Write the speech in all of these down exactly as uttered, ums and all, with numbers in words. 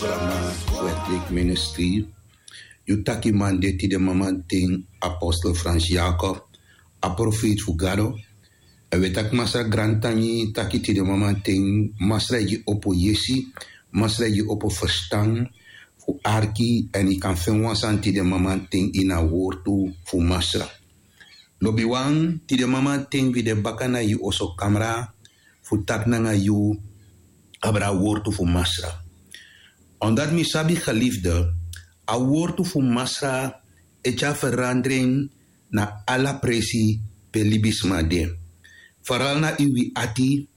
Programma Wetlik Ministry. Yu taki man de tide mamanten, apostel Frans Jacob, a profeet fu Gado. En we taki Masra grantangi taki tide mamanten, Masra e gi opo yesi, Masra e gi opo ferstan fu arki, en yu kan feni wan sani tide mamanten ini a wortu fu Masra. Lobiwan, tide mamanten wi de baka na yu oso kamra fu taki nanga yu abra a wortu fu Masra. Omdat mi sabi, geliefde, a wortu fu Masra e tyari verandering na ala presi pe libisma de. Vooral na ini wi ati,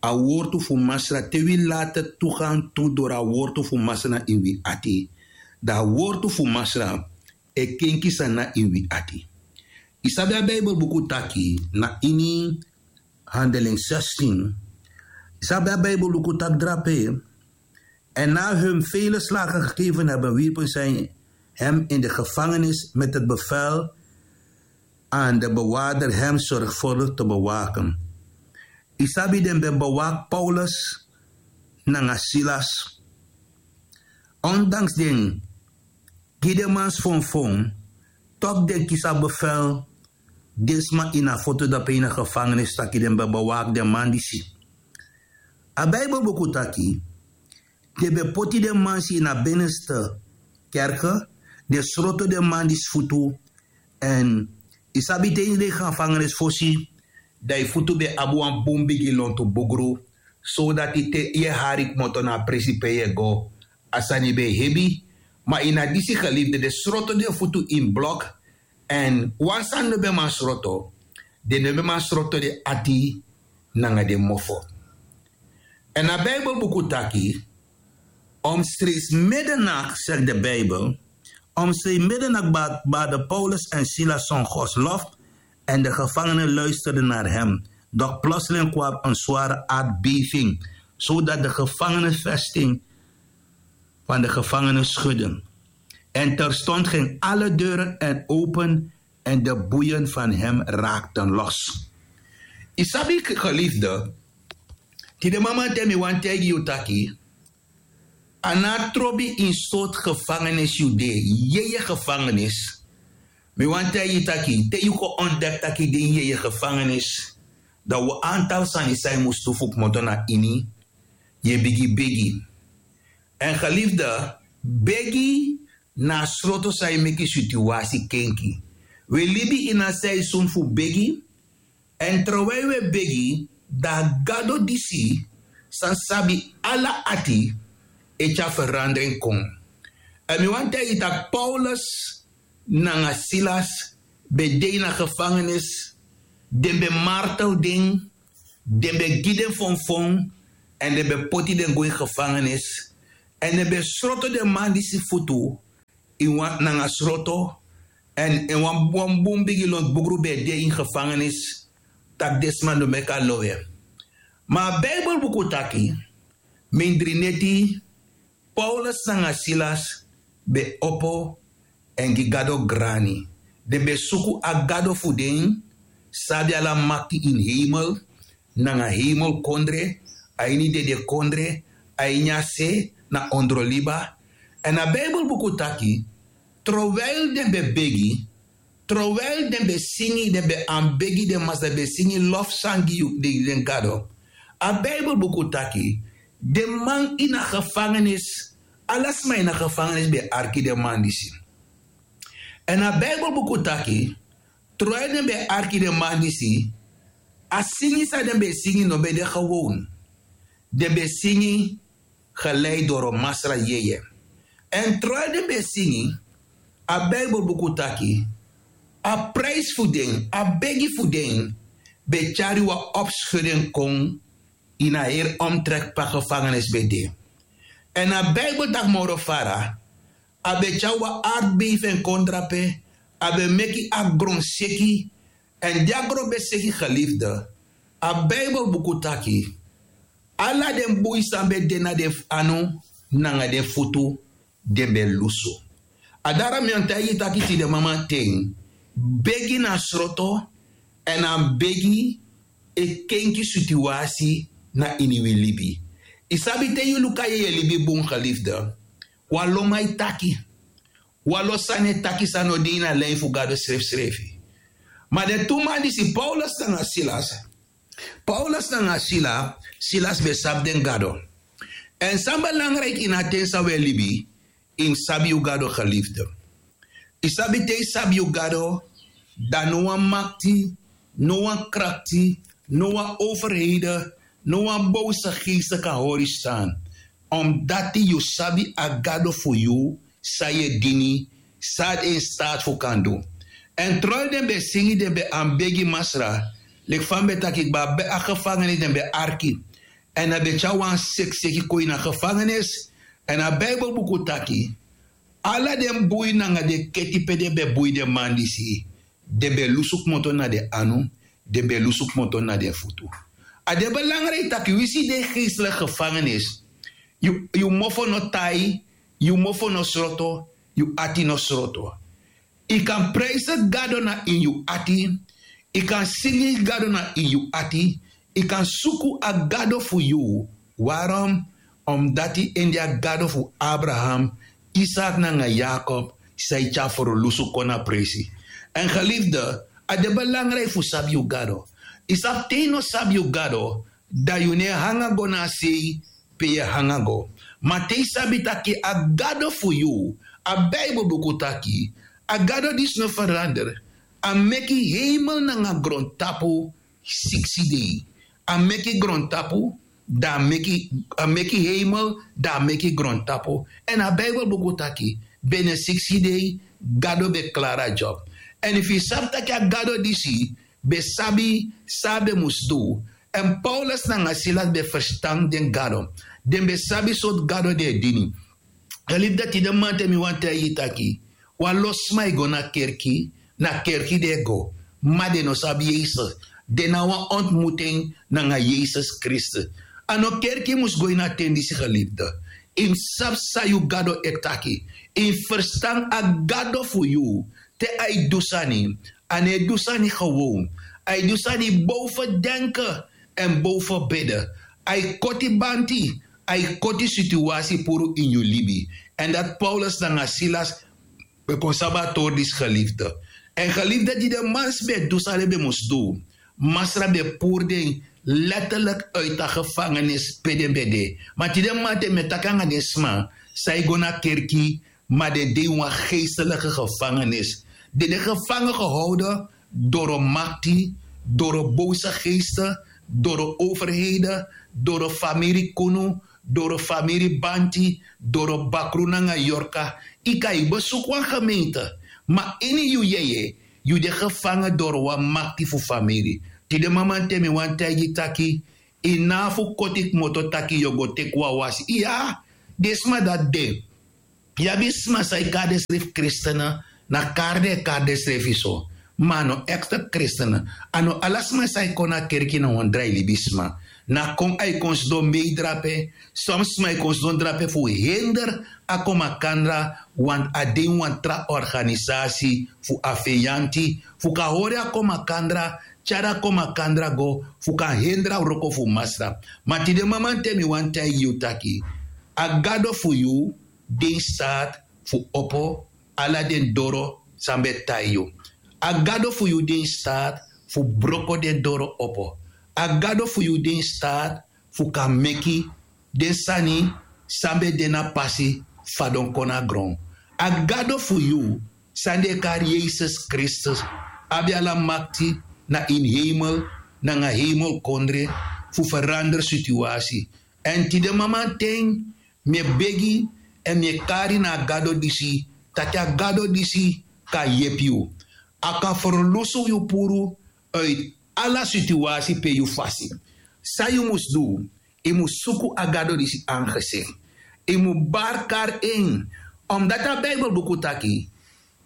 a wortu fu Masra, te wi laat toegang toe door a wortu fu Masra na ini wi ati, dan a wortu fu Masra e kenki sani na ini wi ati. Yu sabi a Bijbelbuku taki na ini Handeling zestien. Yu sabi a Bijbelbuku taki drape: En na hun vele slagen gegeven hebben, wierpen zij hem in de gevangenis met het bevel aan de bewaarder hem zorgvuldig te bewaken. Yu sabi den ben bewaak Paulus nanga Silas. Ondanks den gi den man sfonfon, toch den kisi a bevel den sma ini a foto dape ini a gevangenis taki den ben bewaak den man disi. A Bijbelbuku taki den ben poti den man disi ini a binnenste kerker, den sroto den man disi futu. En yu sabi te ini den gevangenis fosi, dan yu futu ben abi wan bun bigi lontu bugru, sodati te yu e hari kmoto na a presi pe yu e go, a sani ben hebi. Ma ini a disi, geliefde, den sroto den futu ini blok. En wan sani no ben man sroto, den no ben man sroto den ati nanga den mofo. En a Bijbelbuku taki, omstreeks middernacht, zegt de Bijbel, omstreeks middernacht ba-, baden Paulus en Silas zong Gods lof en de gevangenen luisterden naar hem. Doch plotseling kwam een zware aardbeving, zodat de gevangenenvesting van de gevangenen schudde. En terstond ging alle deuren en open en de boeien van hem raakten los. Yu sabi, geliefde, tide mamanten mi wani taigi yu taki, a no trobi ini sortu gevangenis yu de, yeye gevangenis. Mi wani taigi yu taki, te yu kon ontdek taki den yeye gevangenis, dan wan antal sani san yu mus du fu kmoto na ini, yu e bigin begi. En geliefde, begi na a sroto san e meki situasi kenki. Wi e libi ini a seizoen fu begi, en terwijl wi e begi, dan a Gado disi san sabi ala ati e tyari verandering kon. En mi wani taigi yu taki Paulus nanga Silas ben de ini a gevangenis, den ben martel den, den ben gi den fonfon, en den ben poti den go ini gevangenis, en den ben sroto den man disi futu ini wan, nanga sroto, en, en wan, wan bun bigi lontu bugru ben de ini gevangenis, taki den sma no meki a lowe. Ma a Bijbelbuku taki, mindri neti, Paulus nanga Silas ben opo en gi Gado grani. Den ben suku a Gado fu den, san abi ala makti ini hemel nanga hemelkondre, a ini dedekondre, a ini a se, na ondroliba. En a Bijbelbuku taki, terwijl den ben begi, terwijl den ben singi, den ben aanbegi den Masra, den ben singi lofzang gi den, den Gado. A Bijbelbuku taki, den man ini a gevangenis, ala sma ini a gevangenis ben arki den man disi. En a Bijbelbuku taki, terwijl den ben arki den man disi, a singi san den ben singi no ben de gewoon. Den ben singi geleid door Masra yeye. En terwijl den ben singi, a Bijbelbuku taki, a prijs fu den, a begi fu den, ben tyari wan opschudding kon ini a heri omtrek pe a gevangenis ben de. En a Bijbel taki moro fara, a ben tyari wan aardbeving kon drape, a ben meki a gron seki, en di a gron ben seki, geliefde, a Bijbelbuku taki, ala den bui san ben de na den anu nanga den futu, den ben lusu. A dati mi wani taigi yu taki tide mamanten, begi na sroto, en a begi e kenki situasi na ini wi libi. Yu sabi, te yu luku a yeye libi bun, geliefde, Wan lo man e taki. Wan lo sani e taki san no de ini a lin fu gado srefsrefi. Ma den tu man disi paulus nanga silas, paulus nanga sila, silas ben sabi den gado. Èn san belangriki ini a ten san un e libi, yu mus sabi yu gado gelifde. Yu sabi te yu sabi yu gado, dan no wan makti, no wan krakti, no wan overheden, no wan bowse geeste kan hori yu stan. Omdati yu sabi a gado fu yu, san yu e dini, san a de in staat fu kan du. Èn troi den ben e singi den ben anbegi masra, leki fa mi ben taki kba a gefangenis den ben arki. Èn a ben tyari wan sekseki kon ini a gefangenis. Èn a bibelbuku taki, ala den bui nanga den keti pe den ben bui den man disi, den ben lusu kmoto na den anu, den ben lusu kmoto na den futu. A de belangriki taki wi si den geesteliki gefangenis, yu mofo no tai, yu mofo no sroto, yu ati no sroto. Yu kan prijse gado na ini yu ati. Yu kan singi gado na ini yu ati. Yu kan suku a gado fu yu. Warom? Omdati en de a gado fu abraham, isak nanga yakob, san yu tyari ferlusu kon na presi. Èn gelifde, a de belangriki fu sabi yu gado. Yu sabi te yu no sabi yu gado, dan yu no e hanga go na a sei pe yu e hanga go. Ma te yu sabi tak' a gado fu yu, a bibelbuku taki, a gado disi no ferander. A meki heimel nanga grontapu siksi dei. A meki grontapu, dan a meki heimel, dan a meki grontapu. Èn a bibelbuku taki, bene siksi dei gado ben klari a job. Èn efu yu sabi tak' a gado disi ben sabi san a ben mus du. Èn paulus nanga silas ben ferstan den gado. Den ben sabi sortu gado den e dini. Gelifde, tide mamanten mi wani taigi yu taki, wan lo sma e go na kerki, na kerki den e go, ma den no sabi yesus. Den na wan ontmutu en nanga yesus kristus. A no kerki mus go ini a ten disi gelifde. Yu mus sabi san yu gado e taki. Yu mus ferstan a gado fu yu, te a e du sani. A no e du sani gewon. A e du sani bow fu denke èn bow fu bede. A e koti banti. A e koti situasi puru ini yu libi. Èn dati paulus nanga silas ben kon sabi a tori disi gelifde. Èn gelifde di den mansi ben e du san den ben mus du, masra ben e puru den letterlik uiti a gefangenis pe den ben de. Ma tide mamanten mi e taki nanga den sma san e go na kerki, ma den de ini wan geesteliki gefangenis. Den de gefangen gehowden doro makti, doro bowse geeste, doro overheden, doro famiri kunu, doro famiri banti, doro bakru nanga yorka. Yu kan yu besuku wan gemeente, ma ini yu yeye yu de gefangen doro wan makti fu famiri. Tide mamanten mi wani taigi yu taki, yu no abi fu koti kmoto taki yu o go teki wan wasi. Iya, den sma dati de. Yu abi sma san e kari densrefi kristen, na kari den e kari densrefi so. Ma a no ekte kristen. A no ala sma san e kon na kerki na wan drai libisma. Na kon a e kon sidon mei drape. Son sma e kon sidon drape fu hender a kon makandra, want a de ini wan tra organisasi fu a feyanti fu kan hori a kon makandra, tyari a kon makandra go fu kan hender a wroko fu masra. Ma tide mamanten mi wani taigi yu taki, a gado fu yu de ini staat fu opo ala den doro san ben e tai yu. A gado fu yu de ini staat fu broko den doro opo. A gado fu yu de ini staat fu kan meki den sani san ben de na pasi fadon kon na gron. A gado fu yu san den e kari yesus kristus abi ala makti na ini heimel nanga heimel kondre fu ferander situasi. Èn tide mamanten mi e begi èn mi e kari na a gado disi, taki a gado disi kan yepi yu. A kan ferlusu yu puru uiti ala situasi pe yu fasi. San yu mus du? Yu mus suku a gado disi angesik. Yu mus bari kari en. Omdati a bibelbuku taki,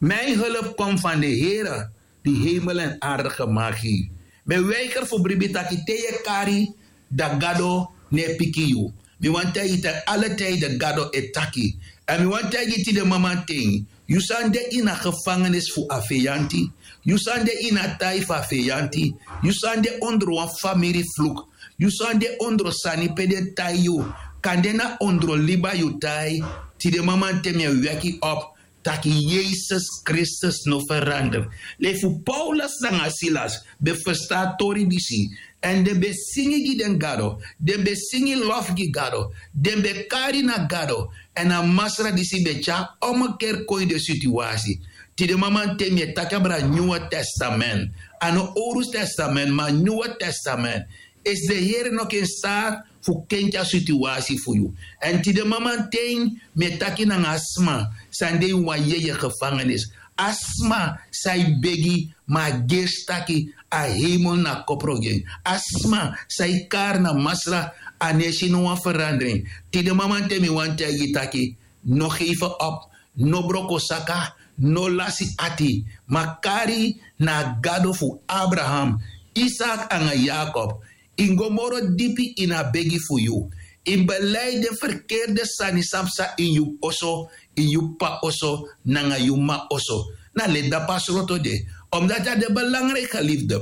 mi en help kon fan de here di heimel èn arde gemaki. Mi e weiger fu bribi taki te yu e kari dan gado no e piki yu. Mi wani taigi yu taki alatide gado e taki. Èn mi wani taigi yu tide mamanten, yu san de ini a gefangenis fu a feyanti, yu san de ini a tai fu a feyanti, yu san de ondro wan famiri fluk, yu san de ondro sani pe den tai yu, kande na ondro liba yu tai, Tide mamanten mi e weki op taki yesus kristus no ferander. Leki fu paulus nanga silas ben ferstan a tori disi, èn den ben singi gi den gado, den ben singi lof gi gado, den ben kari na gado. Èn a masra disi ben tyari omekeri kon ini den situasi. Tide mamanten mi e taki abra nyuwe testament, a no owru testament ma nyuwe testament. Esi den here no ken sari fu kenki a situasi fu yu. Èn tide mamanten mi e taki nanga a sma san de ini wan yeye gefangenis, a sma san e begi ma a gersi taki a heimel na kopro gi en, a sma san e kari na masra, a no e si no wan ferandring. Tide mamanten mi wani taigi yu taki, no heife op, no broko saka, no lasi ati, ma kari na a gado fu abraham, isak nanga yakob. Yu mus go moro dipi ini a begi fu yu. Yu mus belei den ferkerde sani san psa ini yu oso, ini yu p'pa oso, nanga yu m'ma oso. Na leti dapu a sroto de. Omdati a de belangriki gelifde.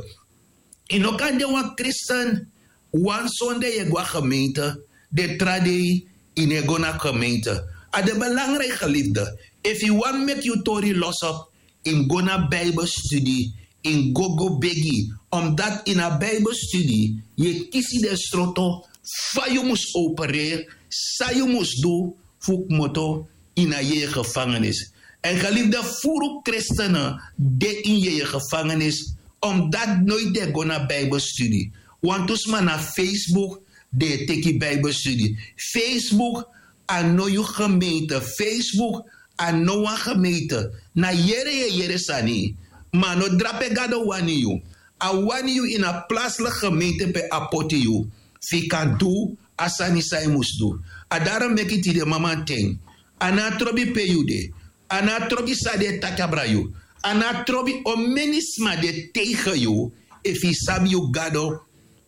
Yu no kan de wan kristen, wan sonde yu e go na gemeente, den tra dei yu no e go na gemeente. A de belangriki gelifde. Efu yu wani meki yu tori losop, yu mus go na bibelstudi, yu mus go go begi. Omdati ini a bibelstudi yu e kisi den sroto fa yu mus opereri, san yu mus du fu kmoto ini a yeye gefangenis. Èn gelifde, furu kristene de ini yeye gefangenis, omdati noiti den e go na bibelstudi. Wantu sma na facebook den e teki bibelstudi. Facebook a no yu gemeente, facebook a no wan gemeente. Na yere yu e yere sani, ma a no drape gado wani yu. A wani yu ini a plasliki gemeente pe a poti yu, fu yu kan du a sani san yu mus du. A daro meki tide mamanten, a no a trobi pe yu de, a no a trobi san den e taki abra yu, a no a trobi omeni sma den e teige yu. Efu yu sabi yu gado,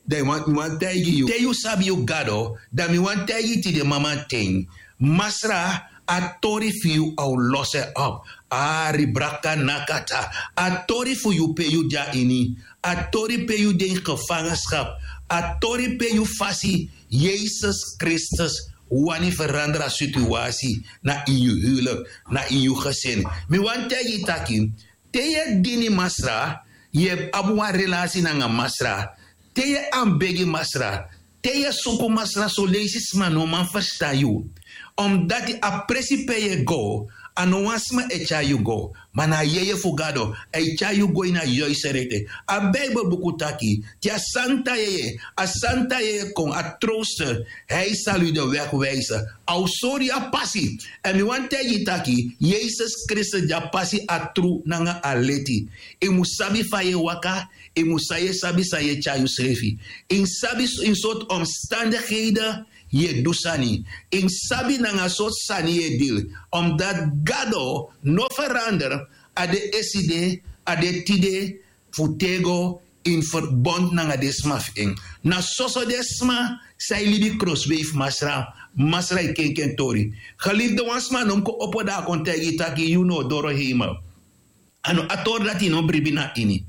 dan mi wani taigi yu te yu sabi yu gado, dan mi wani taigi yu tide mamanten, masra, a tori fu yu a o losi en op. Ari braka nakata. A tori fu yu pe yu de na ini, a tori pe yu de ini gefangenskap, a tori pe yu fasi, yesus kristus wani ferandra situasi na ini yu huwlik, na ini yu gesin. Mi wani taigi yu taki, te yu e dini masra, yu e abi wan relasi nanga masra, te yu e anbegi masra, te yu e suku masra soleisi sma no man ferstan yu. Omdati a presi pe yu e go, a no wan sma e tyari yu go, ma na a yeye fu gado, a e tyari yu go ini a yuiste rekte. A bibelbuku taki, te a santa yeye, a santa yeye kon, a trowster, hei salu yu de wegwijse. A o sori yu a pasi. Èn mi wani taigi yu taki, yesus kristus de a pasi, a tru nanga a leti. Yu mus sabi fa yu e waka, yu mus san yu e sabi san yu e tyari yusrefi. Yu mus sabi ini sortu omstandikheden yu e du sani. Yu mus sabi nanga sortu sani yu e dili. Omdati gado no ferander. A de eside, a de tide, fu tego, ini ferbond nanga den sma fu en. Na soso den sma san e libi krosbei fu masra, masra e kenki en tori. Gelifde, wan sma no mus kon opo dan a kon taigi yu taki yu no o doro heimel. A no a tori dati yu no mus bribi na ini.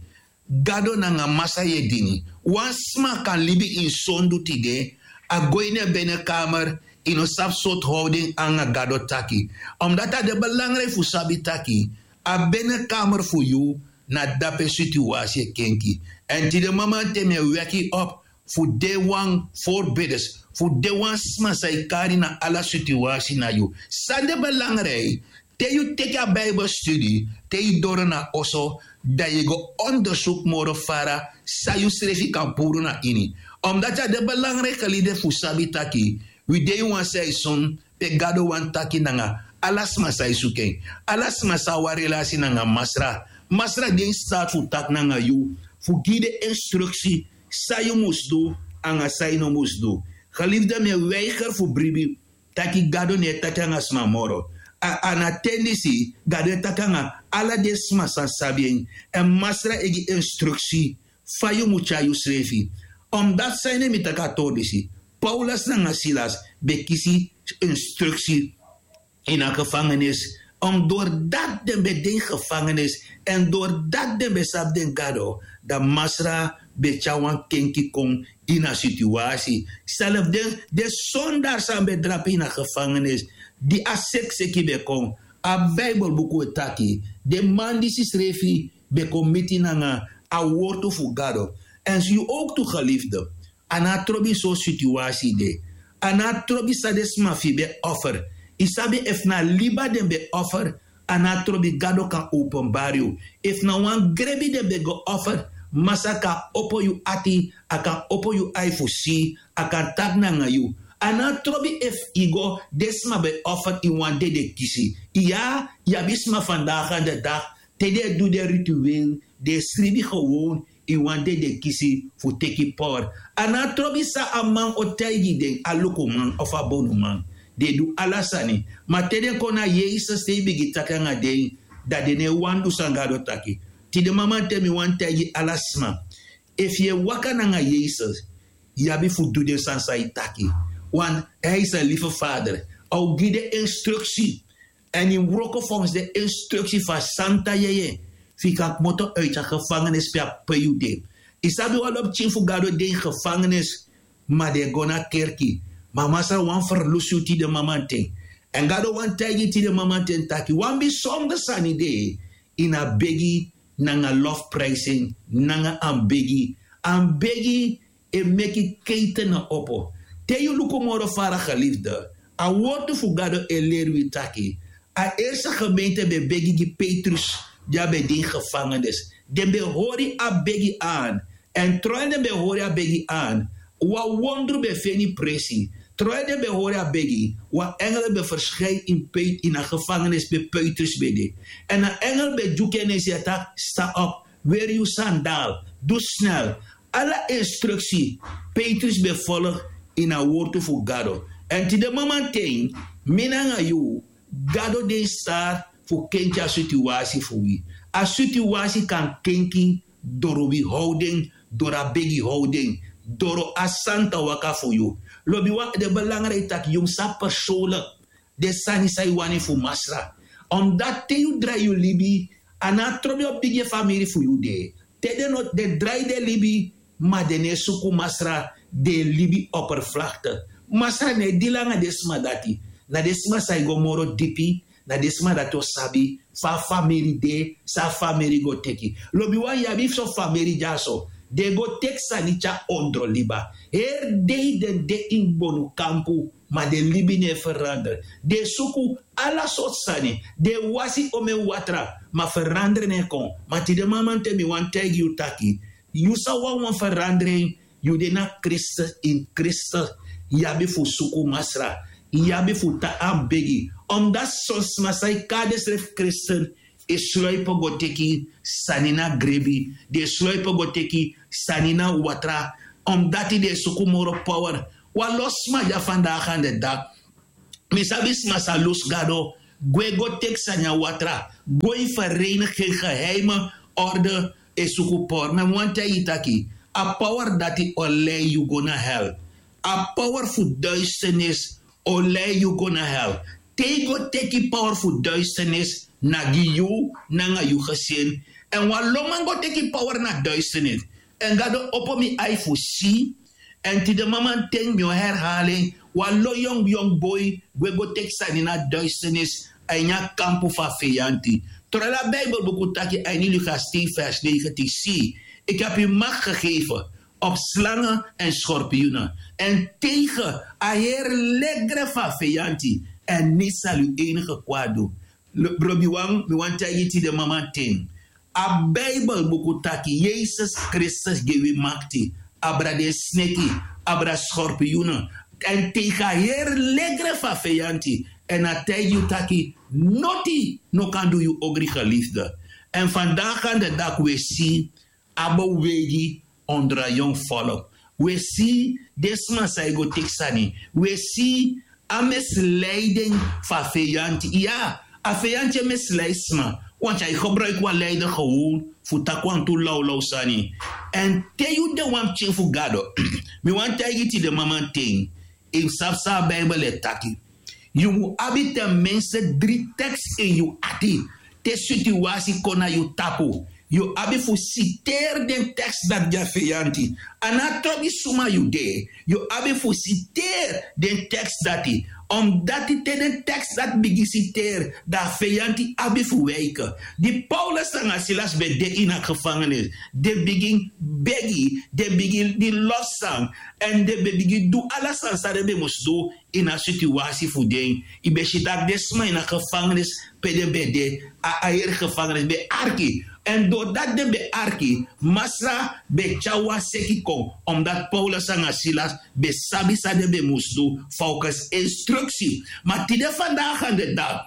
Gado nanga masra yu e dini. Wan sma kan libi ini sondu tide, a go ini en benekamer, yu no sabi sortu howden nanga gado taki. Omdati a de belangriki fu sabi taki, a benekamer fu yu na dape situasi e kenki. Èn tide mamanten mi e weki yu op fu de wan forbiders, fu de wan sma san e kari na ala situasi na yu. San de belangriki, te yu teki a bibelstudi, te yu doro na oso, dan yu e go ondersuku moro fara san yusrefi kan puru na ini. Omdati a de belangriki gelifde fu sabi taki, wi de ini wan seisun pe gado wani taki nanga ala sma san e suku en, ala sma san abi wan relasi nanga masra. Masra de ini stati fu taki nanga yu, fu gi yu den instruksi san yu mus du nanga san yu no mus du. Gelifde, mi e weiger fu bribi taki gado no e taki nanga sma moro. A na ten disi gado e taki nanga ala den sma san sabi en. Èn masra e gi instruksi fa yu mus tyari yusrefi. Omdati san ede mi taki a tori disi, paulus nanga silas ben kisi instruksi ini a gefangenis. Omdori dati den ben de ini gefangenis, èn dori dati den ben sabi den gado, dan masra ben tyari wan kenki kon ini a situasi. Selfi den sondari san ben drape ini a gefangenis, di a sekseki ben kon. A bibelbuku e taki den man disi srefi ben kon miti nanga a wortu fu gado. Èn yu owktu gelifde, a no a trobi so situasi de. A no a trobi san den sma fu yu ben offer. Yu sabi efu na liba den ben offer, a no a trobi gado kan openbari yu. Efu na wan grebi den ben go offer, masa kan opo yu ati, a kan opo yu ai fu si, a kan taki nanga yu. A no a trobi efu yu go den sma ben offer yu wan dede kisi. Iya, yu abi sma fandaga an de dag te den e du den rituel, den e skribi gewon yu wan dede kisi fu teki power. A no a trobi san a man o taigi den, a lukuman of a bonuman. Den e du ala sani. Ma te den kon na yesus te yu bigin taki nanga den, dan den no e wani du san gado taki. Tide mamanten mi wani taigi ala sma, efu yu e waka nanga yesus, yu abi fu du den sani san yu taki. Wan, hij is en lieve vader. A o gi den instruksi. Èn yu mus wroko fonsi den instruksi fu a santa yeye, fu yu kan kmoto uiti a gefangenis pe a pei yu de. Yu sabi wan lobi pikin fu gado de ini gefangenis, ma den e go na kerki. Ma masra wani ferlusu yu tide mamanten. Èn gado wani taigi yu tide mamanten taki wan bisonder sani de ini a begi nanga lofprijsing nanga anbegi. Anbegi e meki keiten na opo. Te yu luku moro fara gelifde, a wortu fu gado e leri wi taki a erste gemeente ben begi gi petrus, di a ben de ini gefangenis. Den ben hori a begi an. Èn troi den ben hori a begi an, wan wondru ben feni presi. Troi den ben hori a begi, wan engel ben ferskei ini pei ini a gefangenis pe petrus ben de. Èn a engel ben dyuku en esi a taki sta op, weri yu sandal, du snel. Ala instruksi petrus ben folg ini a wortu fu gado. Èn tide mamanten, mi nanga yu, gado de ini staat fu kenki a situasi fu wi. A situasi kan kenki doro wi howden, doro a begi howden, doro a santa waka fu yu. Lobiwan, den belangriki taki yu mus sabi persoonlik den sani san yu wani fu masra. Omdati te yu drai yu libi, a no a trobi o bigi famiri fu yu de. Te den no den drai den libi, ma den no e suku masra, den e libi operflakte. Masra no e dili nanga den sma dati. Na den sma san e go moro dipi, na den sma dati o sabi fa a famiri de, san a famiri go teki. Lobiwan, yu abi fu son famiri dyaso, den go teki sani tyari ondro liba. Heri dei den de ini bonu kampu, ma den libi no e ferandra. Den e suku ala sortu sani, den e wasi omen watra, ma ferandra no e kon. Ma tide mamanten mi wani taigi yu taki, yu sa wani wan ferandra en, yu de na kristus, ini kristus yu abi fu suku masra. Yu abi fu tan anbegi. Omdati son sma san e kari densrefi kristus, e sloipo go teki sani na grebi, den e sloipo go teki sani na watra. Omdati den e suku moro power. Wan lo sma dya fandaga an de dak. Mi sabi sma sa lusu gado, gwe go teki sani a watra, go ini vereniging geheime orde, e suku power. Ma mi wani taigi yu taki a power dati o lei yu go na hel. A power fu duisternis o lei yu go na hel. Te yu go teki power fu duisternis, na gi yu nanga yu gesin. Èn wan lo man go teki power na duisternis. Èn gado opo mi ai fu si. Èn tide mamanten mi o herhali en, wan lo yongu yongu boi gwe go teki sani na duisternis, a ini a kampu fu a feyanti. Tro ala bibelbuku taki a ini luka stei vers negentin, si, ik heb u macht gegeven op slangen en schorpioenen en tegen a heri legre fu a feyanti, en niets zal u enige kwaad doen. Brobiwan, mi wani taigi yu tide mamanten, a bibelbuku taki yesus kristus gi wi makti abra den sneki, abra skorpiyunu, èn teki a heri legre fu a feyanti. Èn a taigi yu taki noti no kan du yu ogri gelifde. Èn fandaga an de dak wi e si a bewegi ondro a yongu folku. Wi e si den sma san e go teki sani. Wi e si a misleiding fu a feyanti. Iya, a feyanti e misleidi sma. Wanti a e gebruiki wan leider gewon fu taki wantu lawlaw sani. Èn te yu de wan pikin fu gado, mi wani taigi tide mamanten, yu mus sabi san a bibel e taki. Yu mus abi ten minste dri tekst ini yu ati. Te situasi kon na yu tapu, yu abi fu siteri den tekst dati gi a feyanti. A no a trobi suma yu de, yu abi fu siteri den tekst dati. Omdati te den tekst dati bigin siteri, dan a feyanti abi fu wiki. Di Paulus nanga Silas ben de ini a gevangenis, den bigin begi, den bigin losi sani, èn den ben bigin du ala sani san den ben mus du ini a situasi fu den. Yu ben si tak' den sma ini a gevangenis pe den ben de, a airi gevangenis ben arki. Èn dori dati den ben arki, Masra ben tyari wan seki kon, omdati Paulus nanga Silas ben sabi san den ben mus du, folgens instruksi. Ma tide fandagi an de dati,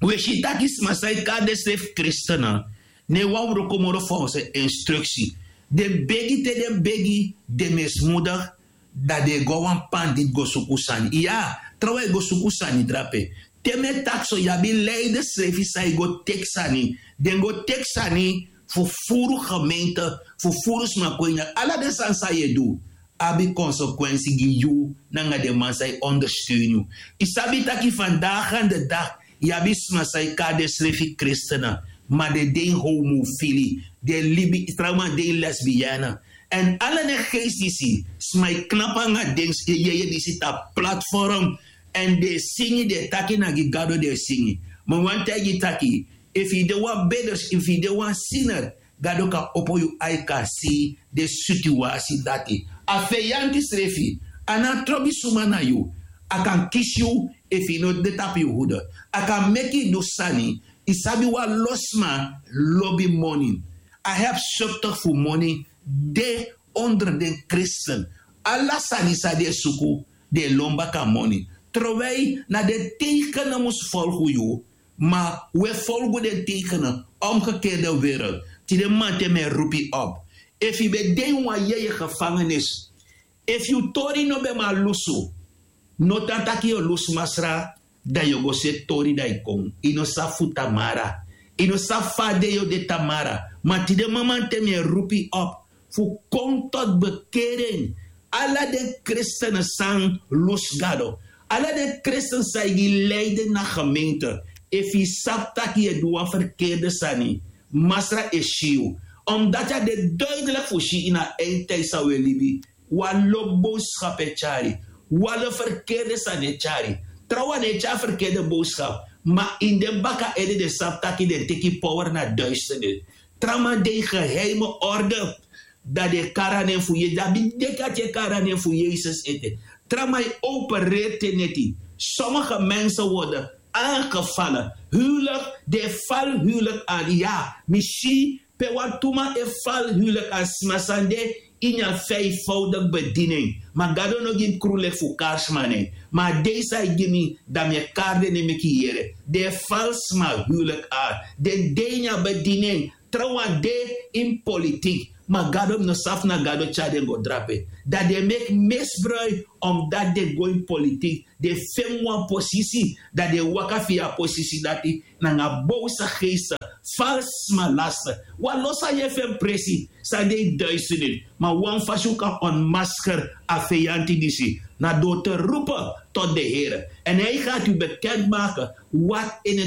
un e si tak' sma san e kari densrefi kristen, no e wani wroko moro folgens instruksi. Den begi, te den begi, den mismoedig, dan den e go na wan panditi go suku sani. Iya, trawan e go suku sani drape. Te mi e taki so, yu abi leidersrefi san e go teki sani. Den go teki sani fu furu gemeente, fu furu sma kon ini. Ala den sani san yu e du abi konsekwensi gi yu nanga den man san e ondersteun yu. Yu sabi tak' fandagi an de dati yu abi sma san e kari densrefi kristen, ma den de ini homofili, den e libi, trawan den e lesbienne. Èn ala den geisi disi, sma e knapu nanga den, e yeye disi tapu platform, èn den e singi, den e taki na gi Gado den e singi. Ma mi wani taigi yu tak' efu yu de wan beders, efu yu de wan sinner, Gado kan opo yu ai kan si den situasi dati. A feyanti srefi, a no trobi suma na yu. A kan kisi yu efu yu no de tapu yu hude. A kan meki yu du sani. Yu sabi, wan lo sma lobi moni. A hebsuptig fu moni de onder den kristen. Ala sani san den e suku, den e lon baka moni. Terwijl na den teikenen mus folgu yu, ma un e folgu den teikenen, omgekeerde wereld. Tide mamanten mi e roepi op. Efu yu ben de ini wan yeye gevangenis, efu yu tori no ben man lusu, no tan taki yu o lusu Masra, dan yu o go seti tori dan yu kon. Yu no sabi fu tamara. Yu no sabi fa a de yu o de tamara. Ma tide mamanten mi e roepi op fu kon tot bekering. Ala den kristen san lusu Gado, ala den kristen san e gi leiden na gemeente, efu yu sabi tak' yu e du wan ferkeerde sani, Masra e si yu. Omdati a de duidelijk fu si ini a eindtijd san un e libi. Wan lo boodschap e tyari, wan lo ferkeerde sani e tyari. Trawan den e tyari ferkeerde boodschap, ma ini den baka ede den sabi tak' den teki power na duisternis. Trawan den e geheime orde, dan den e kari a nen fu Yesus. Dan mi denki dati e kari a nen fu Yesus ete. Trawan e opereri te neti. Sommige mensen worden aangevallen. Huwelijk, den e fali huwelijk aan. Ya, mi si pe wan tu man e fali huwelijk aan. Sma san de ini a vijfvoudig bediening. Ma Gado no gi mi krulek fu kari sma nen. Ma a dei san yu gi mi, dan mi e kari den nen meki yu yere. Den e fali sma huwelijk aan. Den de ini a bediening. Trawan de ini politiek. Ma Gado, mi no sabi fu na Gado tyari den go drape. Dan den e meki misbruik, omdati den go ini politiek. Den feni wan posisi, dan den e waka via a posisi dati nanga boze geesten, valse sma, laster. Wan lo san yu e feni presi, san de ini duisternis. Ma wan fasi un kan ontmasker a feyanti disi, na door te roepen tot de Here. En hij gaat u bekendmaken wat in het